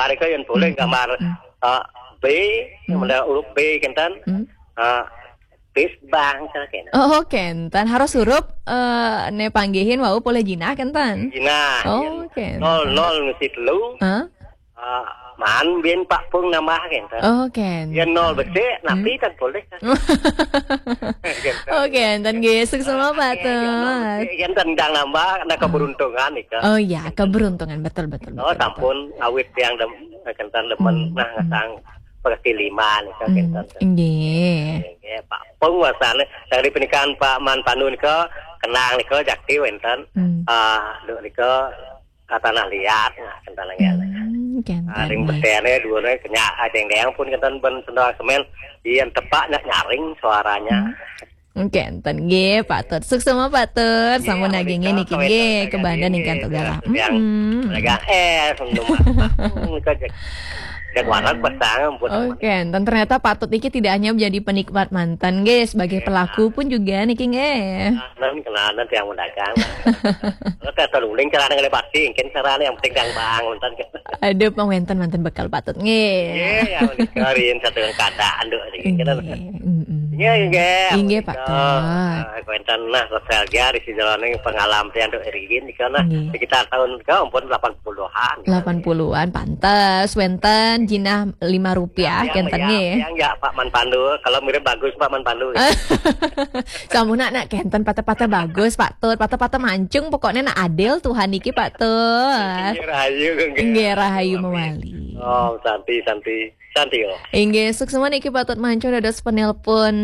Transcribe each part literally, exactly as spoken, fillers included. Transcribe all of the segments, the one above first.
Mereka yang boleh gambar, eh, B, model huruf B, kenten. Eh, bis bang, kenten. Oh, kenten. Harus huruf, eh, ne panggihin wau boleh jinah, kenten. Jinah, oh, kenten. Nol, nol ngisi telu. Eh, man bin Pak Pung nambah, kenten. Oh, kenten. Ya nol becik, napi kan boleh. Oke, enten nggih, suksma Pak Tut. Enten ndang nambah, nah, keberuntungan nika. Oh iya, keberuntungan, betul, betul, oh, betul, betul. Sampun awit yang dem, kenten demen, nah, ngasang kaki lima nika, kenten. Nggih. Nggih, Pak Pung wasane, dari pernikahan Pak Man Pandu nika, kenang nika, jakti wenten. Ah, duk nika, ka tanah liat, nah, kenten lagi. Ring betene dua ne kenyak, ajeng deng pun kenten ben sendal semen, yen tepak nak nyaring suaranya. Oke, enten nggih, Pak Tut. Suksma Pak Tut, sampun nagingin niki nggih, kebandan ingkang tugala. Yang legang es, minum apa? Nika jak, jak warna pasang, buat. Oke, enten ternyata Pak Tut niki tidak hanya menjadi penikmat manten nggih, sebagai pelaku pun juga niki nggih. Kenalan, kenalan tiang pedagang. Kalau tak tahu uling cara ngelih pasti, mungkin caranya yang penting tiang bang, manten. Aduh, pang wenten, wenten bekal Pak Tut nggih. Nggih, ya menika rin satu keadaan, Nduk, niki. Nggih, mm-mm. Nggih, nggih, nggih, Pak Tut. Nah, wenten nah nostalgia di sejalaning pengalaman tiang, Nduk, rin nika nah, sekitar tahun ke ampun delapan puluhan. Delapan puluhan, pantes wenten jinah lima rupiah, kenten nggih. Yang ya Pak Man Pandu, kalau mirip bagus Pak Man Pandu. Sampun nak, nak kenten patah-patah bagus, Pak Tut, patah-patah mancung, pokoknya nak adil Tuhan niki, Pak Tut. Nggih, rahayu, nggih. Nggih, rahayu mawali. Oh, santi, santi. Santi, oh. Inggih, suksma niki Pak Tut Mancung dados penelpon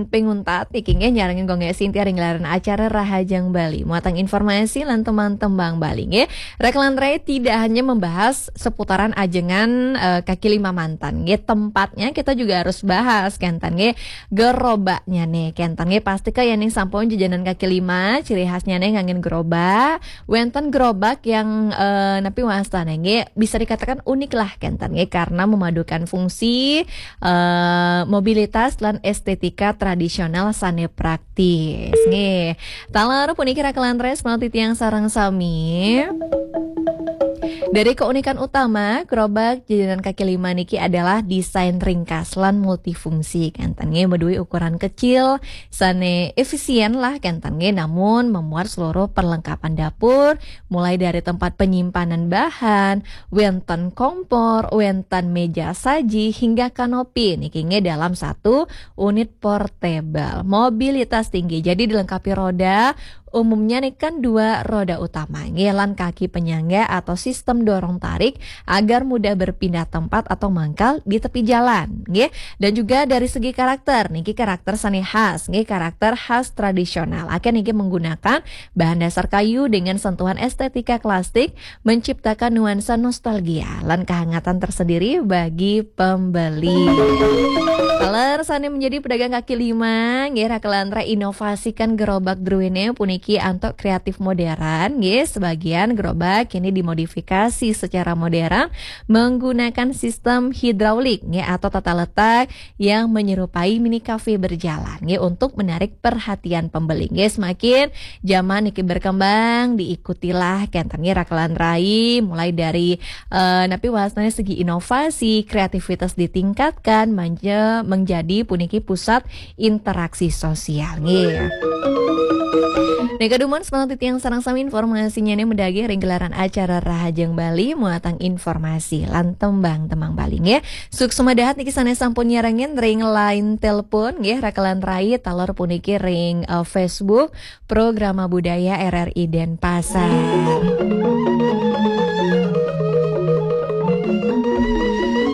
pinguntat niki nggih, nyarengin Gung Sintia ring gelaran acara Rahajeng Bali. Muatang informasi lan tembang-tembang Bali nggih. Rek lan Rai tidak hanya membahas seputaran ajengan, eh, kaki lima manten nggih. Tempatnya kita juga harus bahas, kenten nggih. Gerobaknya nih, kenten nggih. Pasti ke yang sampun jajanan kaki lima, ciri khasnya nih ngangin gerobak. Wenten gerobak yang, eh, napi wastane nggih, bisa dikatakan unik lah kenten nggih, karena memadukan fungsi, eh, mobilitas lan estetika tradisional sane praktis nggih. Taler puniki Rek lan Rai, semanten titiang sareng sami. Dari keunikan utama gerobak jajanan kaki lima niki adalah desain ringkas lan multifungsi, kenten nggih, maduwe ukuran kecil sane efisien lah kenten nggih, namun memuat seluruh perlengkapan dapur, mulai dari tempat penyimpanan bahan, wenten kompor, wenten meja saji, hingga kanopi niki nggih dalam satu unit portable. Mobilitas tinggi, jadi dilengkapi roda, umumnya nih kan dua roda utama nggih, lan kaki penyangga atau sistem dorong tarik agar mudah berpindah tempat atau mangkal di tepi jalan nggih. Dan juga dari segi karakter niki, karakter sane khas nggih, karakter khas tradisional. Akeh niki menggunakan bahan dasar kayu dengan sentuhan estetika klasik, menciptakan nuansa nostalgia lan kehangatan tersendiri bagi pembeli. Taler sane menjadi pedagang kaki lima nggih, Rek lan Rai inovasikan gerobak druene puniki antuk kreatif modern nggih. Sebagian gerobak kini dimodifikasi secara modern menggunakan sistem hidraulik nggih, atau tata letak yang menyerupai mini cafe berjalan nggih, untuk menarik perhatian pembeli nggih. Semakin zaman niki berkembang, diikutilah kenten nggih Rek lan Rai, mulai dari, eh, napi wastane segi inovasi, kreativitas ditingkatkan, manje-, menjadi puniki pusat interaksi sosial nggih. Nika dumun semanten titiang sareng sami, informasinya nih medagi ring gelaran acara Rahajeng Bali, muatang informasi lan tembang-tembang Bali nggih. Suksma dahat niki sane sampun nyarengin ring line telepon nggih, Rek lan Rai, taler puniki ring, eh, Facebook Programa Budaya R R I Denpasar.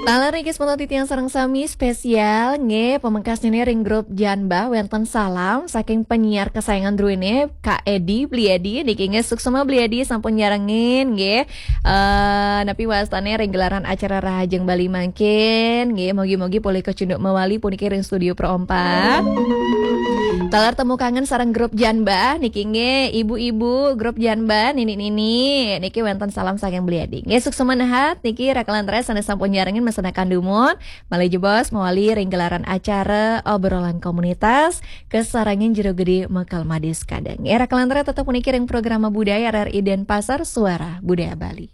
Taler niki semanten titiang sareng sami, spesial nggih, pamekasnya nih ring grup Janbah, wenten salam saking penyiar kesayangan druene, Kak Edi, Bli Edi niki nggih. Suksma Bli Edi sampun nyarengin nggih. Eh, napi wastane ring gelaran acara Rahajeng Bali mangkin nggih, mugi-mugi polih kacunduk mawali puniki ring studio Pro empat. Taler temu kangen sareng grup Janbah niki nggih, ibu-ibu grup Janbah, nini-nini niki wenten salam saking Bli Edi nggih. Suksma dahat niki Rek lan Rai sane sampun nyarengin, mesthinaken dumun malih jebos mawali ring gelaran acara obrolan komunitas, kasarengin Jero Gede Mekel Madis Kadang. Rek lan Rai tetep puniki ring Programa Budaya R R I Denpasar, Suara Budaya Bali.